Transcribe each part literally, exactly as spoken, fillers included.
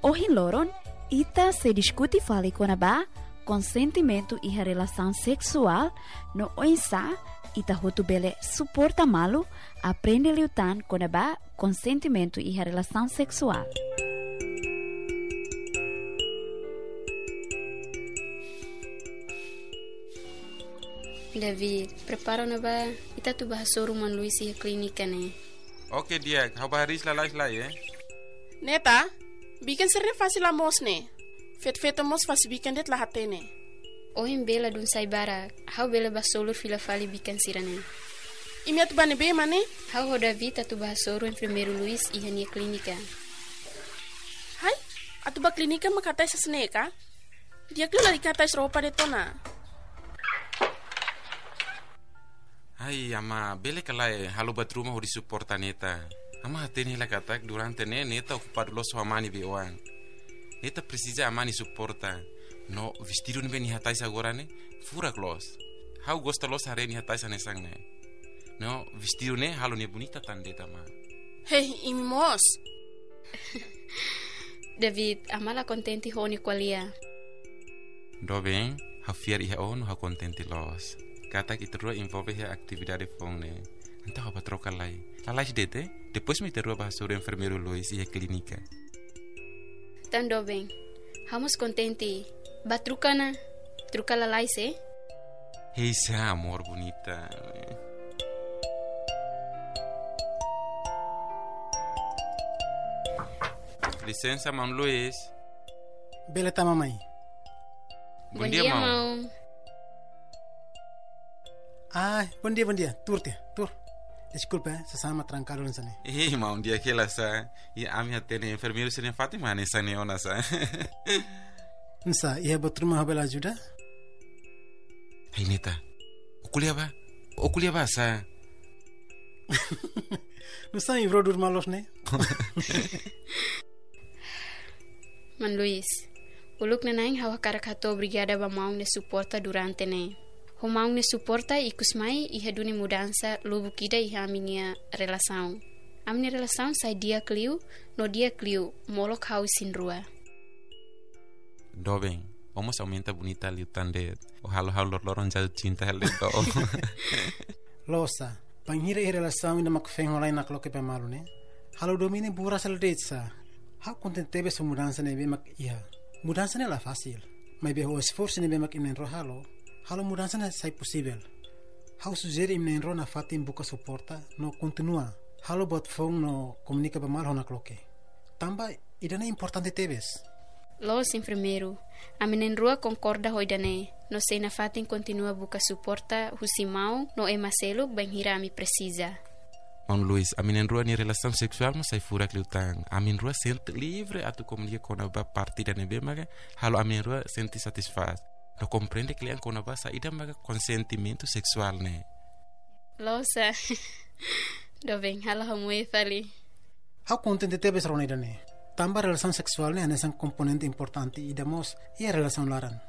Ohin loron, ita sei diskute fali kona-ba konsentimentu iha relasaun seksuál, no oinsá ita hotu bele suporta malu aprende liután kona-ba konsentimentu iha relasaun seksuál. David, prepara ona ba, ita atu ba hasoru maun Luis iha klínika ne'e. Oke, di'ak, ha'u ba hariis lalais lai, eh? Neta, bikan sira-ne'e fase la moos ne'e. Feto-feto mós fase bikan de'it la hatene. Ohin bee la dún sai barak, ha'u bele ba solur fila fali bikan sira-ne'e. Imi atu ba ne'ebé mak ne'e? Ha'u ho David atu ba hasoru enfermeiru Luis iha nia klínika. Hai, atu ba klínika mak hatais hanesan ne'e ka? Di'ak liu lalika hatais roupa de'it ona. Ai, amá, bele ka lae, halo buat ruma hodi suporta Neta. Amá hatene hela katak durante ne'e Neta okupadu loos ho amá nia be-oan. Neta presiza amá nia suporta. No vestidu ne'ebé nia hatais agora ne'e, furak loos. Ha'u gosta loos haree nia hatais hanesan ne'e. No vestidu ne'e halo nia bonita tan de'it, amá. Hei, imi mós. David, amá la kontente ho ó-nia ko'alia. Doben, ha'u fiar iha ó no ha'u kontente loos katak ita rua envolve iha atividade foun ne'e. Entaun ha'u ba troka lai. Lalais de'it, eh? Depois mak ita rua ba hasoru enfermeiru Luis iha klínika. Entaun doben, ha'u mós kontente. Ba troka ona, troka lalais, eh? Hei, sá, amor bonita. Lisensa, maun Luis. Bele tama mai. Bondia, maun. Ah, bondia, bondia. Tuur tiha, tuur. Deskulpa, eh, sasán mak trankadu hanesan ne'e. Ih, maun, di'ak hela sá. I ami hatene enfermeiru sira-nia fatin mak hanesan ne'e ona sá. Nusá, iha buat ruma ha'u bele ajuda? Hai Neta, ó ko'alia bá. Ó ko'alia bá sá. Nusá imi brodúr malu loos ne'e? Maun Luis, uluk nanain ha'u hakarak hato'o obrigada ba maun nia suporta durante ne'e. Ho maun nia suporta ikus mai iha duni mudansa lubuk ida iha ami-nia relasaun. Ami-nia relasaun sai di'ak liu, no di'ak liu, molok ha'u isin-rua. Doben, ó mós aumenta bonita liután de'it. Ó halo ha'u loroloron jatuh cinta hela de'it ba ó. Loos sá, bainhira iha relasaun ida mak feen ho la'en nakloke ba malu ne'e, halo domina buras hela de'it sá. Ha'u kontente tebes ho mudansa ne'ebé mak iha. Mudansa ne'e la fasil. Maibé ho esforsu ne'ebé mak imi na'in-rua halo, halo mudansa ne'e sai posivel. Ha'u sujere imi na'in-rua nafatin buka suporta, no kontinua halo buat foun no komunika ba malu ho nakloke. Tanba ida-ne'e importante tebes. Loos enfermeiru, ami na'in-rua konkorda ho ida-ne'e, no sei nafatin kontinua buka suporta husi maun no ema seluk bainhira ami presiza. Maun Luis, ami na'in-rua nia relasaun seksuál mós sai furak liután. Ami na'in-rua sente livre atu komunika kona-ba parte ida ne'ebé maka halo ami na'in-rua sente satisfás. No komprende kle'an kona-ba saida maka konsentimentu seksuál ne'e. Loos sá. Doben, halo ha'u moe fali. Ha'u kontente tebes rona ida-ne'e. Tanba relasaun seksuál ne'e hanesan komponente importante ida mós iha relasaun laran.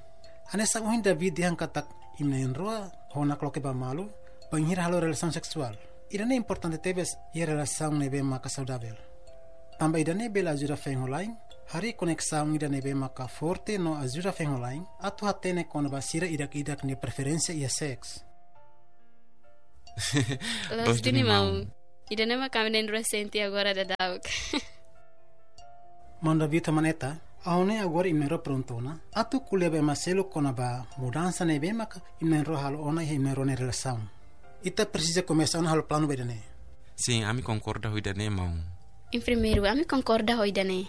Hanesan ohin David dehan katak imi na'in-rua ho nakloke ba malu, bainhira halo relasaun seksuál. Ida-ne'e importante tebes iha relasaun ne'ebé maka saudavel. Tanba ida-ne'e bele ajuda feen ho la'en harii koneksaun ida ne'ebé maka forte no ajuda feen ho la'en atu hatene kona-ba sira ida-idak nia preferénsia iha seks. Loos duni, maun. Ida-ne'e mak ami na'in-rua sente agora daudauk. Maun David ho maun Neta, ha'u hanoin agora imi na'in-rua prontu ona atu ko'alia ba ema seluk kona-ba mudansa ne'ebé maka imi na'in-rua halo ona iha imi na'in-rua nia relasaun. Ita presiza komesa ona halo planu ba ida-ne'e. Sin, ami konkorda ho ida-ne'e, maun. Enfermeiru, ami konkorda ho ida-ne'e.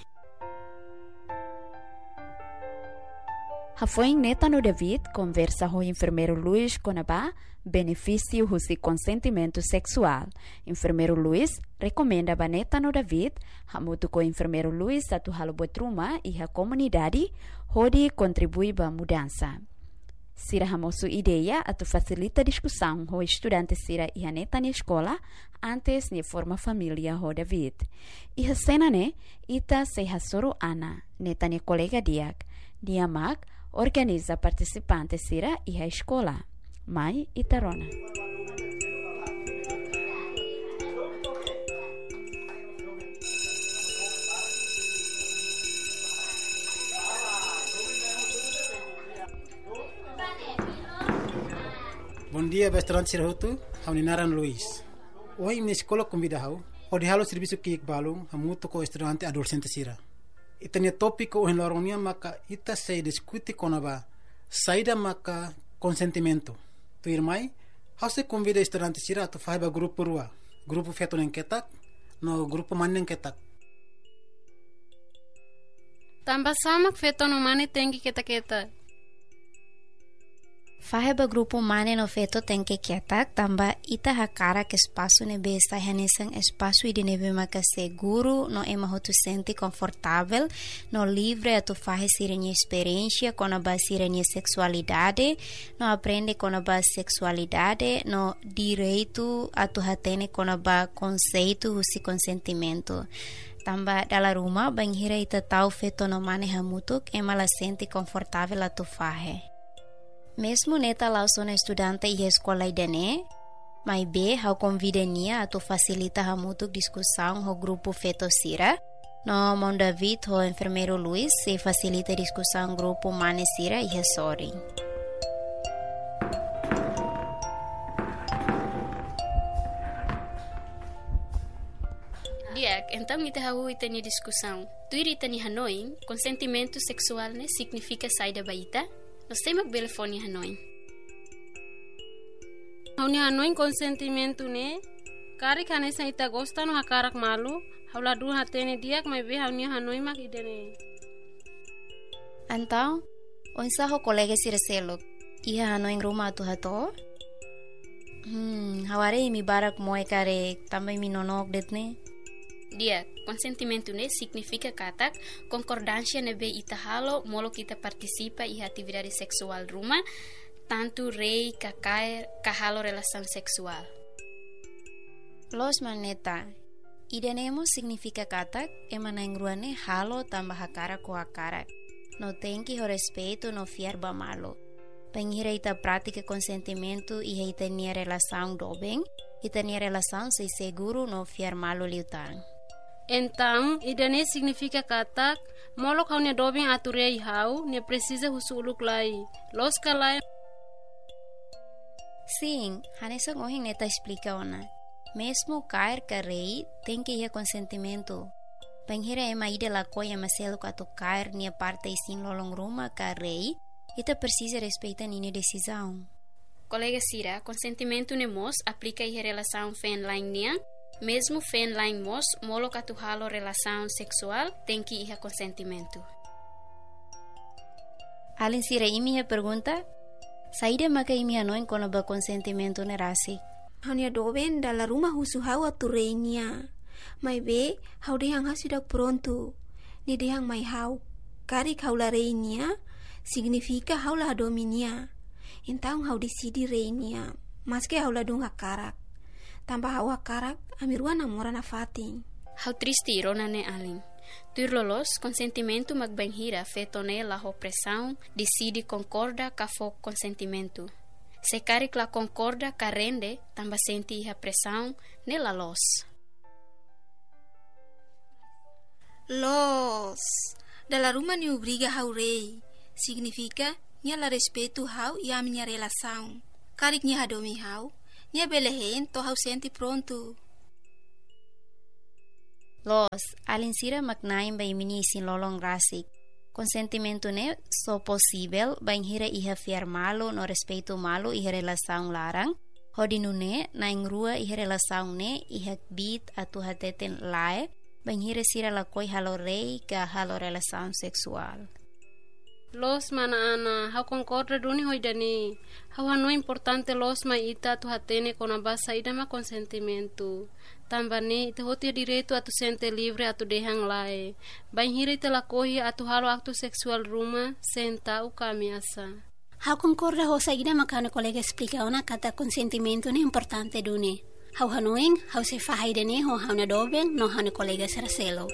Hafoin Neta no David konversa ho enfermeiru Luis kona-ba benefísiu husi konsentimentu seksuál. Enfermeiru Luis rekomenda ba Neta no David hamutuk ho enfermeiru Luis atu halo buat ruma iha komunidade hodi kontribui ba mudansa. Sira hamosu ideia atu fasilita diskusaun ho estudante sira iha Neta nia eskola antes nia forma família ho David. Iha sena ne'e, ita sei hasoru Ana, Neta nia kolega di'ak, nia mak organiza partisipante sira iha eskola. Mai ita rona. Di'ak ba estudante sira hotu, ha'u-nia naran Luis. Ohin imi-nia eskola konvida ha'u hodi halo servisu ki'ik balun hamutuk ho estudante adolexente sira. Ita-nia tópiku ohin loron nian maka ita sei diskute kona-ba saida maka konsentimentu. Tuirmai, ha'u sei konvida estudante sira atu fahe ba grupu rua, grupu feto na'in ketak no grupu mane na'in ketak. Tanba sá mak feto no mane tenke ketak-ketak? Fahe ba grupu mane no feto tenke ketak, tanba ita hakarak espasu ne'ebé sai hanesan espasu ida ne'ebé maka seguru no ema hotu sente konfortavel no livre atu fahe sira-nia esperiénsia kona-ba sira-nia seksualidade, no aprende kona-ba seksualidade, no direitu atu hatene kona-ba konseitu husi konsentimentu. Tanba dala ruma, bainhira ita tau feto no mane hamutuk, ema la sente konfortavel atu fahe. Mezmu Neta la'ós ona estudante iha eskola ida-ne'e, maibé ha'u konvida nia atu fasilita hamutuk diskusaun ho grupu feto sira, no maun David ho enfermeiru Luis sei fasilita diskusaun grupu mane sira iha sorin. Di'ak, entaun ita hahú ita-nia diskusaun. Tuir ita-nia hanoin, konsentimentu seksuál ne'e signifika saida ba ita? No sé mak bele fó nia hanoin? Ha'u-nia hanoin konsentimentu ne'e, karik hanesan ita gosta no hakarak malu, ha'u ladún hatene di'ak maibé ha'u-nia hanoin mak ida-ne'e. Entaun, oinsá ho kolega sira seluk? Iha hanoin ruma atu hato'o? Hmm, ha'u haree imi barak moe karik, tanba imi nonook de'it ne'e. Di'ak, konsentimentu ne'e signifika katak konkordánsia ne'ebé ita halo molok ita partisipa iha atividade seksuál ruma, tantu rei ka kaer ka halo relasaun seksuál. Loos, mana Neta. Ida-ne'e mós signifika katak ema na'in-rua ne'e halo tanba hakarak ho hakarak, no tenke ho respeitu no fiar ba malu. Bainhira ita pratika konsentimentu iha ita-nia relasaun doben, ita-nia relasaun sei seguru no fiar malu liután. Entaun, ida-ne'e signifika katak, molok ha'u-nia doben atu rei ha'u, nia presiza husu uluk lai. Loos ka lae? Sin, hanesan ohin Neta esplika ona. Mezmu kaer ka rei, tenke iha konsentimentu. Bainhira ema ida lakohi ema seluk atu kaer nia parte isin-lolon ruma ka rei, ita presiza respeita ninia desizaun. Kolega sira, konsentimentu ne'e mós aplika iha relasaun feen-la'en nian, mezmu feen-la'en mós molok atu halo relasaun seksuál tenke iha konsentimentu. Alin sira, imi iha pergunta? Saida maka imi hanoin kona-ba konsentimentu ne'e rasik? Ha'u-nia doben dala ruma husu ha'u atu rei nia. Maibé, ha'u dehan ha'u seidauk prontu. Nia dehan mai ha'u, karik ha'u la rei nia, signifika ha'u la hadomi nia. Entaun ha'u deside rei nia, maske ha'u ladún hakarak. Tanba ha'u hakarak, ami rua namora nafatin. Ha'u triste rona ne'e alin. Tuir loloos, konsentimentu mak bainhira feto ne'e la ho presaun, deside konkorda ka fó konsentimentu. Se karik la konkorda ka rende, tanba sente iha presaun, ne'e la loos. Loos. Dala ruma nia obriga ha'u rei. Signifika, nia la respeitu ha'u i ami-nia relasaun. Karik nia hadomi ha'u, nia bele hein to'o ha'u sente prontu. Loos, alin sira mak na'in ba imi-nia isin-lolon rasik. Konsentimentu ne'e só posivel bainhira iha fiar malu no respeitu malu iha relasaun laran, hodi nune'e na'in-rua iha relasaun ne'e iha kbiit atu hateten lae, bainhira sira lakohi halo rei ka halo relasaun seksuál. Loos mana Ana, ha'u konkorda duni ho ida-ne'e. Ha'u hanoin importante loos mai ita atu hatene kona-ba saida mak konsentimentu. Tanba ne'e, ita hotu iha direitu atu sente livre atu dehan lae. Bainhira ita lakohi atu halo aktu seksuál ruma, sein ta'uk ka ameasa. Ha'u konkorda ho saida mak ha'u-nia kolega esplika ona katak konsentimentu ne'e importante duni. Ha'u hanoin, ha'u sei fahe ida-ne'e ho ha'u-nia doben no ha'u-nia kolega sira seluk.